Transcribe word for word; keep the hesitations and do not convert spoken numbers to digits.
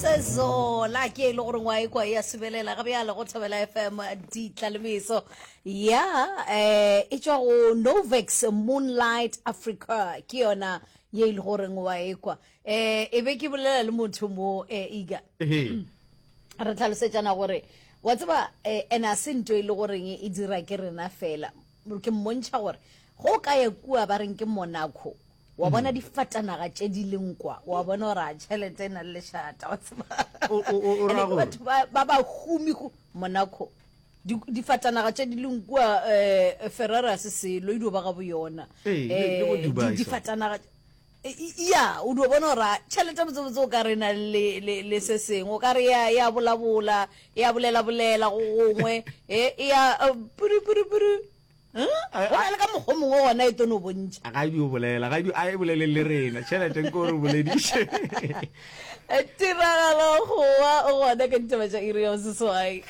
Sezola ke e le gore ngwa e kwa ya subelela ga bjale go Thobela F M ditla le meso ya eh e tšwa go Novex Moonlight Africa, ke yona ye e le goreng wa e kwa. eh e be ke bolela le motho mo eh iga Ehe. re tlhalosetšana gore wa tseba eh, ene a se nto e le goreng e dira ke rena fela. Ke mmontšha gore go ka ya kua ba reng ke Monaco, wa bona difatanaga tše di leng kwa, wa bona gore a tšhelete e na le lešata, wa tseba. O- o- o- o Ene ra ke gore? Batho ba ba ba humi go Monaco. Di- difatanaga tše di leng kua um Ferrari a se selo e dio ba ga bo yona. Ee, le- le bo Eh, Dubai di- so. Difatanaga e- ya o dio bona gore a tšhelete botsebotse o ka re na le, le, le se sengwe o ka re ya ya bolabola, ya bolelabolela go gongwe e ya eh, puru puru puru. Huh? Go na le ka mokgwa o mongwe gona e tono bontšha. Ga e dio bolela, ga e dio, a e bolele le rena tšhelete nko re bolediše. Tiragalo goa o gona ka ditaba tša iri ya boseswai.